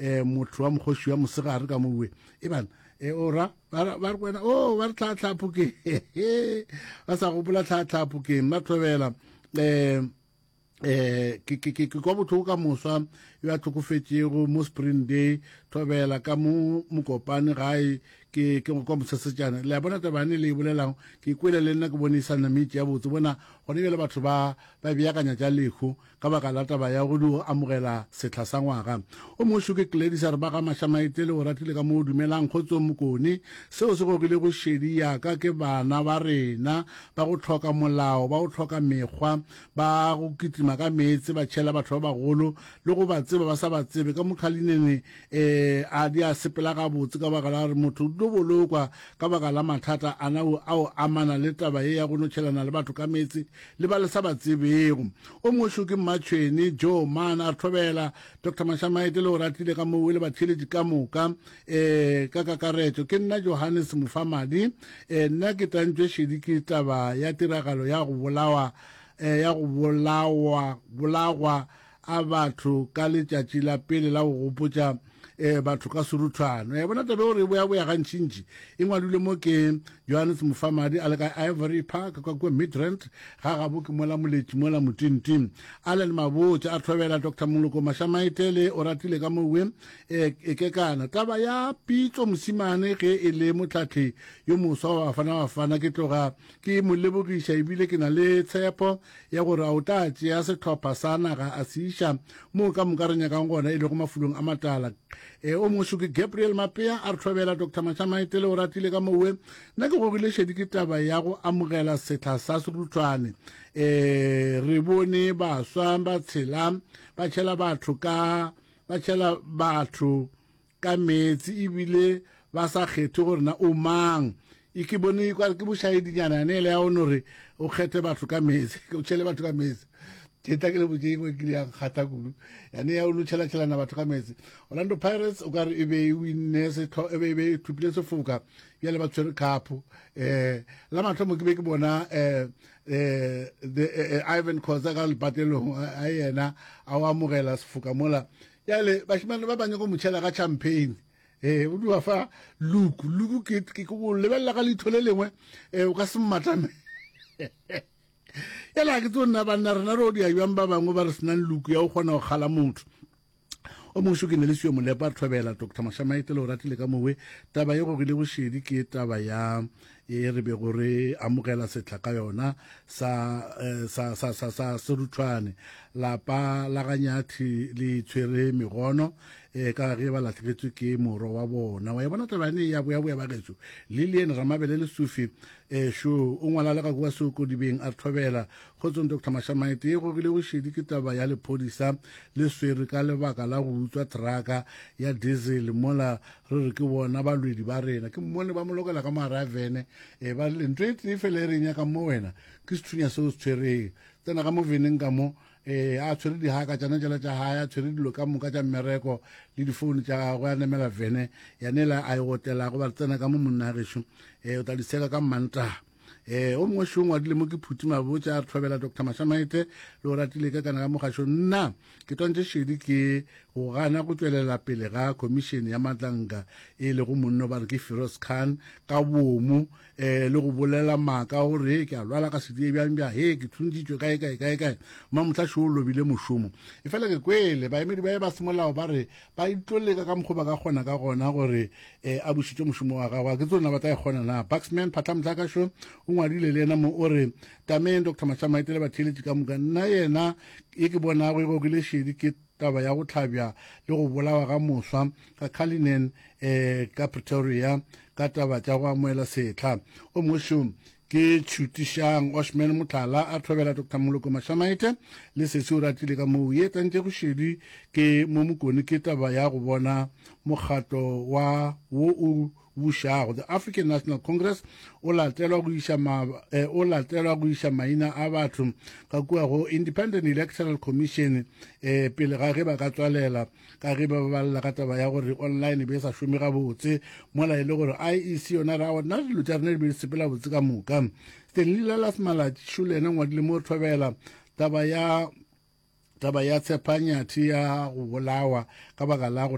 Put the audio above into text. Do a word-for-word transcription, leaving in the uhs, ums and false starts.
um motho wa mokgoši wa mosegare ka mowe e bana e ora ba re wena o ba re tlhatlhapokeng ba sa gopola tlhatlhapokeng ba thobela um eh ke ke ke kwa botlhoko ka moswa yo a tlhokofetšego mo spring day thobela ka mo mokopane gae ke ke kwa mosesetšana le a bona tabane le e bolelang ke kwele le nna ke bone e sa nametše ya botse bona gone bjale batho ba ba beakanya tša lehu ka baka la taba ya go di amogela setlha sa ngwaga o mongwe ke Gladys a re ba ga Mašamaite le o ratile ka mo o dumelang kgotsong mokone seo se gogile go šedi yaka ke bana ba rena ba go tlhoka molao ba go tlhoka mekgwa ba go kitima ka meetse ba tšhela batho ba bagolo le go ba tseba ba sa ba tsebe ka mokhalinene um a di a sepela gabotse ka baka la gore motho o tlo bolokwa ka baka la mathata ana ao amana le taba ye ya go no tšhelana le batho ka meetse le ba le sa ba tsebego o mongwe ke Mmatšhweni Joe Man a re thobela Dr Mašamaite le o ratile ka moo le batheeletši ka moka um ka kakaretšo ke nna Johannes Mofamadi um nna ke tantšwe šedi ke taba ya tiragalo ya go bolawa um ya go bolawa bolagwa a batho ka letšatši la pele la go gopotša um batho ka seruthwane ya bona tabe gore e boya boya gantšintši e ngwadilwe mo ke Johannes Mofamadi a le ka Ivory Park ka kua Midrand ga gabo ke mola moletši mola motinting Allen Mabotja a thobela Dr Moloko Mašamaite le o ratile ka mowe e kekana taba ya Pitso Mosimane ge e le motlhatlhi yo moswa wa Bafana Bafana ke tloga ke mo lebogiša ebile ke na le tshepo ya gore a o tla tšea sehlopha sa naga a se iša moo ka moka re nyakang gona e lego mafulong a matala e o mongwe ke Gabriel Mapea a re thobela Dr Mašamaite le o ratile ka mowe nna ke gogile šedi ke taba ya go amogela setlha sa seruthwane um re bone baswa ba tshela ba tšhela batho ka ba tšhela batho ka meetse ebile ba sa kgethe gore na o mang e ke bone kwa ke bošaedinyana yane ele ya one gore o kgethe batho ka meetse o tšhele batho ka meetse ke tla ke le botse engwe ke yang kgatha kudu yane ya o no tšhela-tšhelana batho ka meetse Orlando Pirates o ka re e be e winne setho e be e be e thopile sefoka bjale ba tshwere cup eh la mathomo ke be ke bona eh eh the eh, Ivan Khoza ka lepatelong a yena a o amogela sefoka mola bjale bashimane ba banyako mo tšhela ka champagne ee o dua fa luku luku ke ke go lebelela ka leitho le lengwe um o ka se mmatame yala ke tso nna banna rena re o dia bjang ba bangwe ba re senang luku ya go kgona go kgala motho o mongwe ke ne le seo molepa re thobela Dr Mašamaite le o ratile ka mowe taba ye gogile bošedi ke taba ya e re bego re amogela setlha ka yona sa sa sa sa sa seruthwane lapa la ganyathi le tshwere megono e ka ge ba latlhegetswe ke moro wa bona wa e bona taba ene ya boya boya ba gešo Lilian Ramabele Lesufi um šo o ngwala le ka kua seokodibeng a re thobela kgotsong Dr Mašamaite e gogile bošedi ke taba ya lephodisa le swere ka lebaka la go utswa traka ya diesel mola re re ke bona balwedi ba rena ke mmone ba mo lokela ka mogare a vene um ba rile ntho e tee fela e re nyakang mo wena ke sethunya seo se tshwereng tsena ka mo veneng ka mo eh a tshwere dihaka tšana tšela tša gae a tshwere dilo ka moka tša mmereko le difounu tša gagwe a namela vene yanela a e otlelago ba re tsena ka mo monna gešo um o tla di seka ka mmantaga eh o mongwe šo ngwadile mo ke phuti mabotja a re thobela Dr Mašamaite le o ratile ka kana ka mogašo nna ke twantše šedi ke go gana go tšwelela pele ga khomišene ya matlanka e lego monno ba re ke Feroz Khan ka bomo eh le go bolela maaka gore ke a lwala ka sedie bjang bja he ke thuntšitšwe kae kae kae kae mamohla šo o lobile mošomo e fela ke kwele baemedi ba ba semolao ba re ba itlo leka ka mokgwa ba ka kgona ka gona gore eh, a bušitše mošomo wa gagwe ke tsona ba tla e kgona na Buxman Phatlamtlakašo o ngwadile le yena mo o re tameng Dr Mašamaite le batheeletši ka moka nna yena e ke bonago e gogile šedi ke taba ya go tlhabja le go bolawa ga moswa ka Cullinan eh, ka Pretoria ka taba tša go amoela setlha o mongwe ke tšhutišang Oshman Motlala a thobela Dr Moloko Mašamaite le sesi o ratile ka moo ye tlantše go šedi ke mo mokone ke taba ya go bona mokgatlo wa wo o bušago the African National Congress o latelwa go iša ma, eh, o latelwa go iša maina a batho ka kua go Independent Electoral Commission eh, pele ga ge ba ka tswalela ka ge ba balela ka taba ya gore online be e sa šome gabotse mola e le gore I E C yona ra nna dilo tša rena di be di sepela botse ka moka Stanley Lalas Malatši šo le yena ngwadile mo thobela taba ya taba ya tshepanyathi ya go bolawa ka baka la go